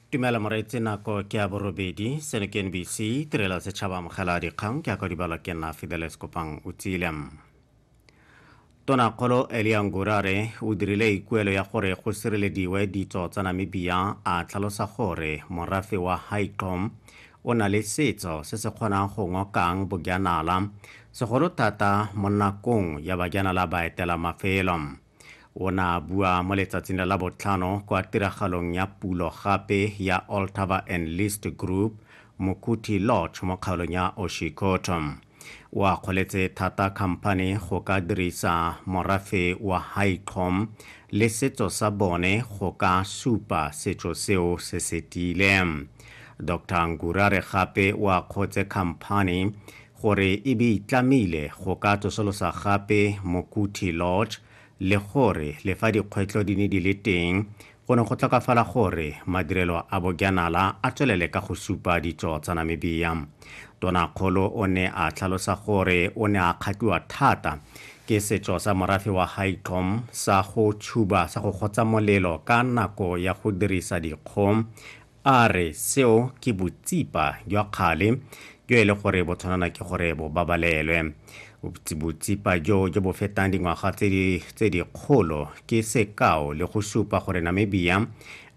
Dumela moreetsi, nako ke ya borobedi. Seno ke NBC, tirelo ya setšhaba. Amogela dikgang ke ya ka dibalwa ke nna Fidelis Kopang o tsile. Tonakgolo Elia Ngurare o dirile ikuelo ya gore go sirelediwe ditso tsa Namibia, a tlhalosa gore morafe wa Haicom o na le setso se se kgonang go ngokang bojanala, segolo thata mo nakong ya bajanala ba etela mafelo. O ne a bua mo letsatsing la Labotlhano kwa tiragalong ya pulo gape ya Ohlthaver and List Group Mokuti Lodge mo kgaolong ya Oshikoto. O akgoletse thata khamphani go ka dirisa morafe wa Haicom le setso sa bone go ka supa setso seo se se tiileng. Doctor Ngurare gape o akgotse khamphani gore e be itlamile go ka tsosolosa gape Mokuti Lodge le gore le fa dikgwetlho di ne di le teng, go ne go tlhokafala gore madirelo a bojanala a tswelele ka go supa ditso tsa Namibia. Tonakgolo o ne a tlhalosa gore o ne a kgatlhiwa thata ke setso sa morafe wa Haicom sa go tshuba sa go gotsa molelo ka nako ya go dirisa dikgong, A re seo ke botsipa jwa kgale jo e le gore bo tshwanela ke gore bo babalelwe. Botsipa jo jo bo fetang dingwaga tse dikgolo ke sekao le go supa gore Namibia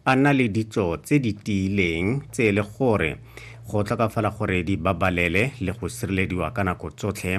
a na le ditso tse di tiileng tse e le gore go tlhokafala gore di babalele le go sirelediwa ka nako tsotlhe.